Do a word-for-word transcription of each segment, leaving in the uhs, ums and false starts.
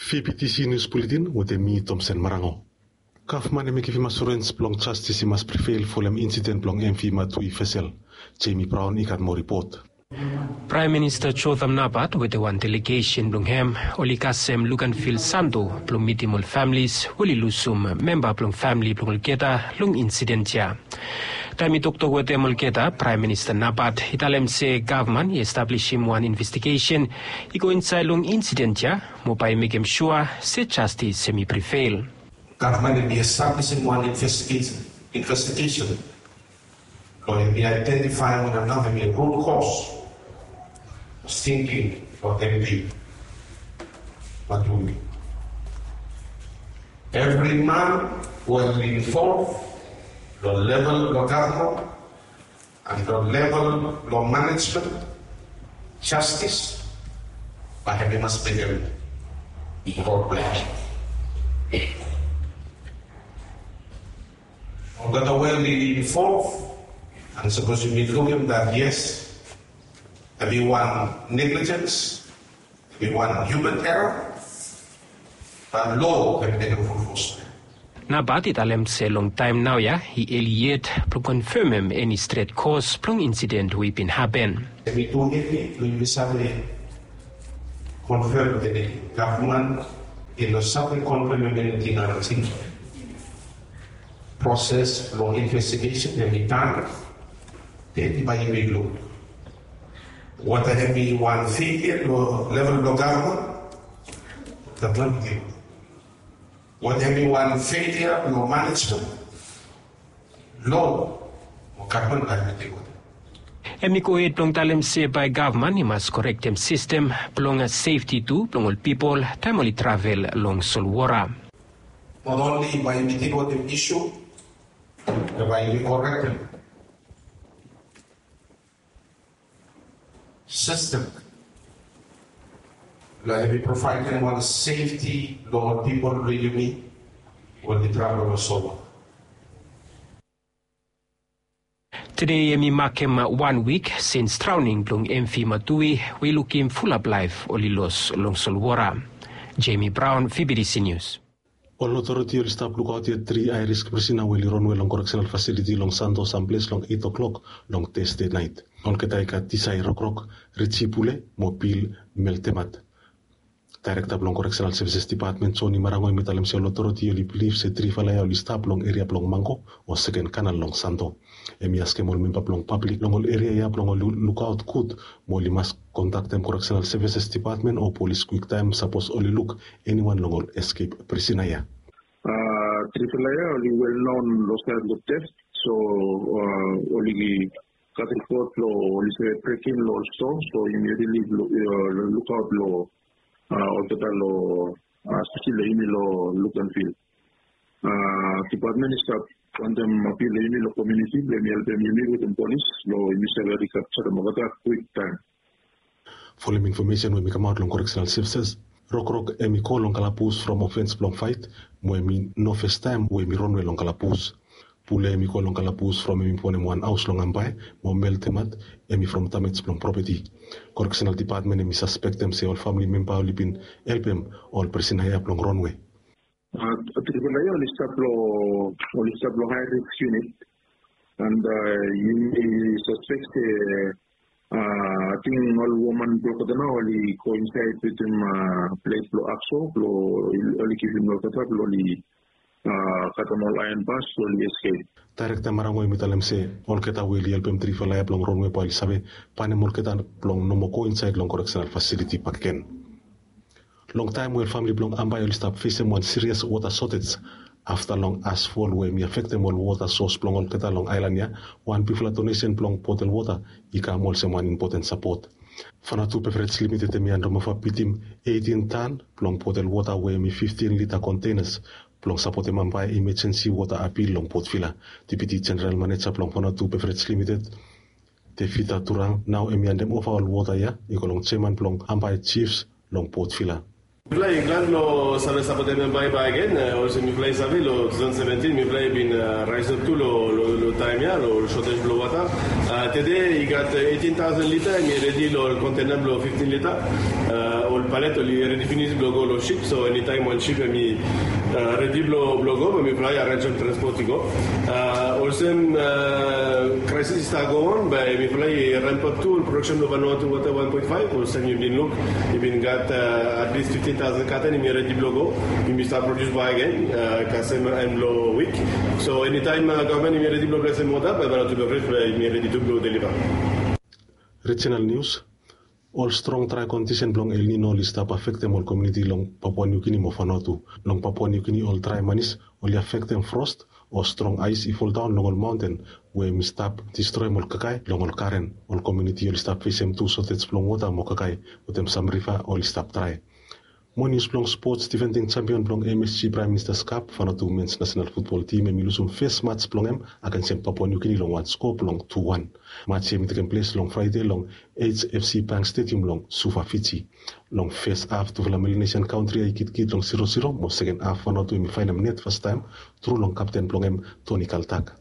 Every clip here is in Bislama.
Fibitisi nius buletin wetem mi, Tomsen Marango. Gavman hem i givim asurens blong jastis i mas privil folem insiden blong M V Matui vesel. Jemi Braon i gat moa ripot. Praem Minista Jotham Napat wetem wan delegesen blong hem oli kasem luk an fil Santo blong mitim ol familis we oli lusum memba blong famili blong olgeta long insiden ya. Taem i toktok wetem olgeta, Praem Minista Napat i talem se gavman i establisim wan investigesen i go insaed long insiden ya mo bae i mekem sua se jastis hem i privil. Gavman hem i establisim wan investigesen investigesen blong hem i aedentifaem wanem nao hem i rut kos stingking blong M V Matui. Evri man we hem i involv long level blong gavman an long level blong manejmen, jastis bae hem i mas mekem rod blong hem. Olgeta we oli involv an sapos yumi lukim dat yes, hem i wan neglijens, hem i wan human error, bae loa hem i mekem ful fos. Napat i talem se long taem naoia i eli yet blong konfemem eni stret kos blong insiden we i bin hapen. Hem i tu eni blong yumi save konfem se gavman i no save konfemem eniting nao. Proses blong investigesen hem i tan. Den bae yumi luk wata hem i wan feilya long level blong gavman. Gavman i givim wata hem i wan feilya long manejmen. Loa o gavman bae hem i tek wata. Hem i gohed blong talem se bae gavman i mas korektem sistem blong sefti tu blong ol pipol taem oli travel long solwota. Not only bae yumi tek wetem isu, be bae yumi korektem sistem blong hem i provaedem wan sefti long ol pipol blong yumi we oli travel long solwota. Tede hem i makem wan wik sins draoning blong M V Matui we i lukim fulap laef oli los long solwota. Jemi Braon, V B T C Nius. Ol otoriti oli stap lukaot yet tri aerisk prisina we oli ronwe long koreksenal fasiliti long Santo samples long eit o'klok long Tasde naet. Olgeta i gat Tisai Rokrok, Richi Pule mo Pil Meltemat. Daerekta blong Koreksenal Sevises Dipatmen, Joni Marango, hem i talem se ol otoriti oli bilif se trifala ya oli stap long eria blong Mango o seken kanal long Santo. Hem i askem ol memba blong pablik long ol eria ya blong oli lukaot gud mo oli mas kontaktem Koreksenal Sevises Dipatmen o polis kwiktaem sapos oli luk eniwan long ol eskep prisina ya. Trifala ya oli wel non long saed long tef, so oli gat ripot long oli save brekin long ol stoa, so yumi rili lukaot long olgeta long speseli long yumi long luk an fil. Dipatmen i stap wantem apil long yumi long komuniti blong yumi helpem yumi wetem polis blong yumi save rikapjarem olgeta kwiktaem. Folem infomesen we hem i kamaot long Koreksenal Sevises, Rokrok hem i go long kalabus from ofens blong faet mo hem i no fastaem we hem i ronwe long kalabus. Pule hem i go long kalabus from hem i bonem wan haos long Ambae, mo Meltemat hem i from damej blong propeti. Koreksenal Dipatmen hem i saspektem se ol famili memba oli bin helpem ol prisina ya blong ronwe. Trifala ya oli stap long, oli stap long hae risk yunit. And yumi saspek se ating ol woman blong olgeta nao oli go insaed wetem ples blong akso blong oli givim olgeta blong oli katem ol aeon bas blong oli eskep. Daerekta Marango hem i talem se olgeta we oli helpem trifala ya blong ronwe bae oli save banem olgeta blong no moa go insaed long koreksenal fasiliti bakegen. Longtaem we ol famili blong Ambae oli stap fesem wan sirias wota sotej afta long asfol we hem i afektem ol wota sos blong olgeta long aelan ya, wan bigfala donesen blong botel wota i kam olsem wan impoten sapot. Vanuatu Beverage Limited hem i handova bitim eitin tan blong botel wota we hem i fiftin lita kontenas blong sapotem Ambae imejensi wota apil long Port Vila. Deputi Jeneral Maneja blong Vanuatu Beverage Limited, Tevita Turang, nao hem i handova ol wota ya i go long jeaman blong Ambae Jifs long Port Vila. Mifala i glad long save sapotem Ambae bakegen, olsem mifala i save long tu taosen seventin mifala i bin raesap tu long taem ya long ol sotej blong wota. Tede i gat eighteen thousand lita, hemi redi long ol kontena blong fifteen lita. Ol palet oli redi finis blong go long sip, so enitaem wan sip hemi redi blong go, bae mifala i arenjem transpot i go. Olsem, kraesis i stap go on, bae mifala i rempap tu ol prodaksen blong Vanuatu Water one point five. Olsem yu bin luk, i bin gat at least fifteen thousand katen hemi redi blong go. Hemi stap produs bakegen kasem en blong wik. So enitaem gavman hemi redi blong blesem wota, bae Vanuatu Beverage bae hemi redi tu blong deliva. Rijenal nius. Ol strong drae kondisen blong El Nino oli stap afektem ol komuniti long Papua Niu Gini mo Vanuatu. Long Papua Niu Gini ol drae manis oli afektem fros o strong aes i foldaon long ol maonten, we hemi stap distroem ol kakae long ol garen. Ol komuniti oli stap fesem tu sotej blong wota mo kakae, wetem sam riva oli stap drae. Mo nius blong spots, difending sempion blong M S G Prime Minister's Cup, Vanuatu Men's National Football Team, hemi lusum fes mats blong hem agensem Papua Niu Gini long wan skoa blong tu wan. Mats ia hemi tekem ples long Fraede long H F C Bank Stadium long Suva, Fiji. Long fes haf tufala Melanesian kantri ia i gidigid long zero zero, mo seken haf Vanuatu hemi faenem net fastaem tru long kapten blong hem Toni Kaltak.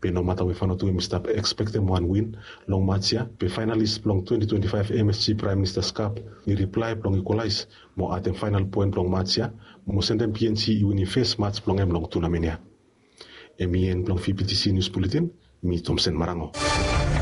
Be nomata we Vanuatu hemi stap ekspektem wan win long mats ia, be faenalis blong twenty twenty-five M S G Prime Minister's Cup i riplae blong ikolaes mo adem faenal poen blong mats ia, mo sendem P N G i winim fes mats blong hem long tunamen ia. Hemi en blong V B T C Nius Buletin. Mi Tomsen Marango.